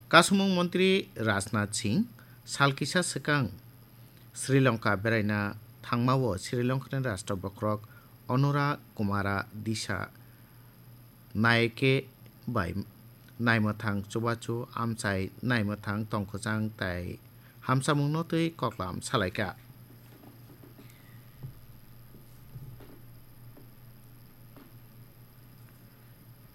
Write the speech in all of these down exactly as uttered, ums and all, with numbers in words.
Kasumung Montri Rajnath Singh sal kisa swkang Sri Lanka beraina thangmao Sri Lankani Rashtra Bokhorok Anura Kumara Disa Nayake bai naimwthang chubachu amchai naimwthang tongkwchang tai hamsamungno twi koklam salaikha.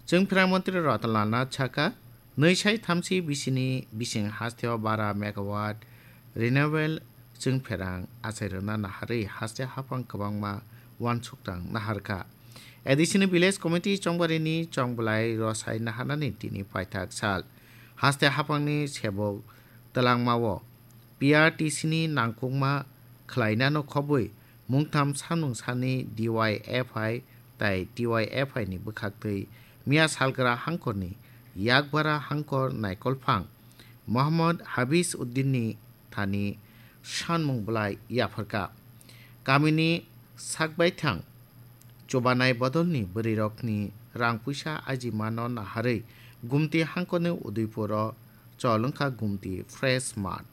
Chwng Phrang Montri Ratan Lal Nath sakha, nwi sai thamchi bisini bising hasteo bara megawatt renewable chwng pherang achai rwna naharwi haste haphang kwbangma uansukthang naharkha. A D C ni Village Committee chongbarini chongbwlai rosai naharnani tini paithak sal. Haste haphangni sebok twlangmao P R T C ni nangkukma khlainano khobwi mungtham sanmung sani D Y F I tai T Y F I ni bwkhaktwi miya salgra hangkorni yakbara hangkor naikolphang Mohammad Habis Uddinni thani sanmung bwlai yapharkha. Kamini sakbaithang chubanai bodolni bwrwirokni rang puisa ajimano naharwi Gumti hangkorni Udaipuro chol wngkha Gumti Fresh Mart.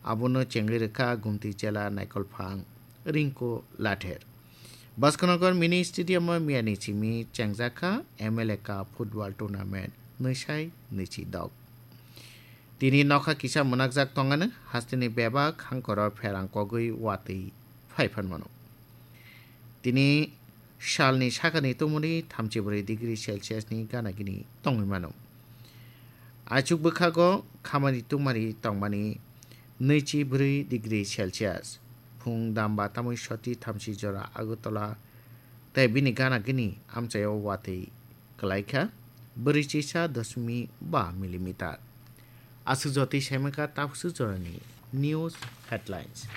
Abono chengwi rwkha Gumti jela naikolphang Rinku Lather. Baskanagar Mini Stadium o miyani simi chengjakha M L A Cup Football Tournament nwi sai nwichi dok. Tini nokha kisa mwnakjak tongano hasteni bebak hangkoro pherang kogwi watwi phai phan mano. Tini salni sakani tongmani thamchi bwrwi degree Celsius ni gana gini tongwi mano. Aichuk bwkhago khamani tungmani tongmani nwichi bwrwi degree Celsius. Phung damba tamwi soti thamchi jora Agartala tei bini gana gini amchaio watwi kwlaikha bwrwi chisa doshmi ba millimeter. Aswk jotwi saimaka taphusu jorani news headlines.